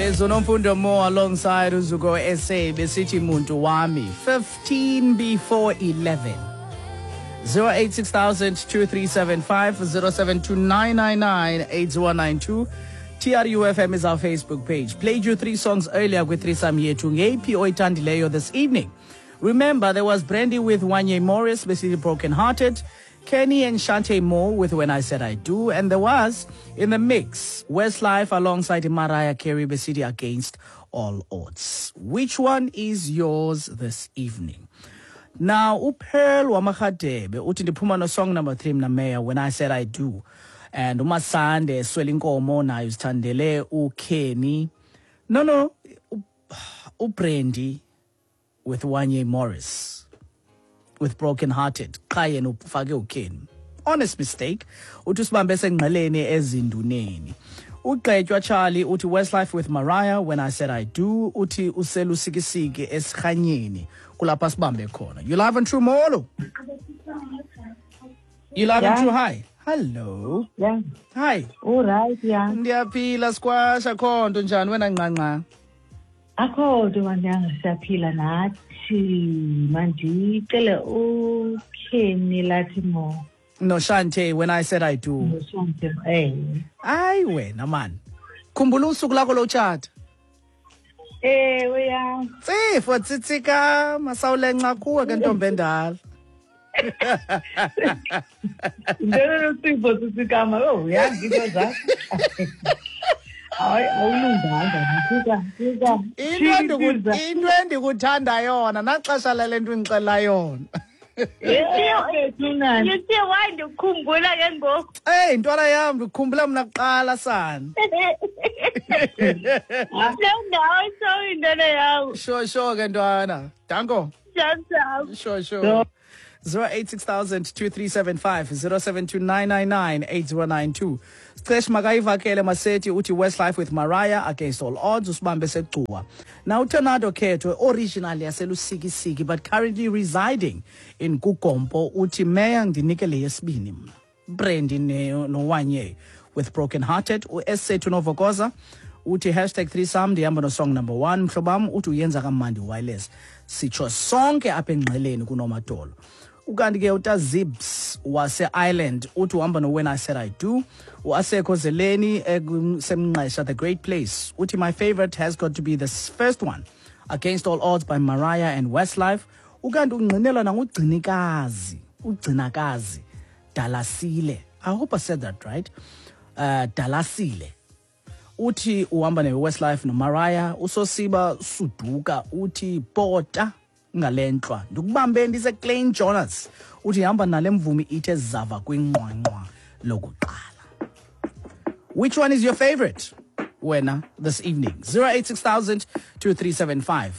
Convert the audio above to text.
It is uNomfundo Mo alongside uZuko SA besithi muntu wami 15 before 11. 086 2375 0729998192. TRUFM is our Facebook page. Played you three songs earlier with threesome yethu ngeyiphi oyithandileyo this evening. Remember, there was Brandy with Wanye Morris, basically Broken Hearted, Kenny and Shante Moore with When I Said I Do, and there was, in the mix, Westlife alongside Mariah Carey, Besidi Against All Odds. Which one is yours this evening? Now, uPearl wamaRhadebe uthi ndiphuma no song number 3 mna Mayor, When I Said I Do. And uMasande Swelinkomo naye uzithandele uKenny. No, uBrandy with Wanye Morris with Broken Hearted. Qha yena ufake uKenny. Honest mistake. Uthi usibambe sengqeleni ezinduneni. Ugqetywa Charlie uthi Westlife with Mariah When I Said I Do. Uthi uselusikisiki esikhanyeni kulapha sibambe khona. You live and true, molo. You live and true, hi. Hello. Yeah. Hi. All right, yeah. Ndiyaphila squash, akho nto, njani wena nqanqa? Akho nto mandanga, siyaphila nathi. Mandicele uKenny lathi mo. No Shante, When I Said I Do. No Shante, eh. Hayi wena man. Khumbula usuku lakho lotshata. Ewe ya. Tsifo tsitsika masawulenca kuwe ke ntombi endala. Ndelo Tsifo tsitsikama, oh ya ngito zakho. Hayi awulunganga ngifika fika. Into endikuthanda yona naxesha lale nto ingixela yona. You see why ndikukhumbula ke ngoku? Hey ntwana yam, ndikukhumbula mna kuqala sana. No, sorry ntwana yam. Sure ke ntwana. Danko. Jam. Sure. 086 2375 072999 8092. Scesh makayivakele Maseti uthi Westlife with Mariah Against All Odds, usibambe segcuwa. Now Tornado Khetho, originally yaselusikisiki but currently residing in Kugompo, uthi Mayor ndinike le yesibini mna. Brandy noWanye with Broken Hearted. uSethu Novokoza uthi #threesome ndihamba no song number 1 mhlobam, uthi uyenza kamandi wireless. Sitsho sonke apha engqeleni kunomadolo. Ukanti ke uTazibs wase-Ireland uthi uhamba no When I Said I Do. Uasekho Zeleni semnqesha The Great Place uthi my favorite has got to be the first one, Against All Odds by Mariah and Westlife. Ukanti ungqinelwa nangugcinikazi, ugcinakazi Dalasile. I hope I said that right. Dalasile uthi uhamba ne-Westlife noMariah. Usosiba Suduka uthi pota ngalentlwa ndikubambe ndise Klein Jonas uthi hamba nale mvumi ithe zava kwinqwanqwa lokuqala. Which one is your favorite wena this evening? 086 2375.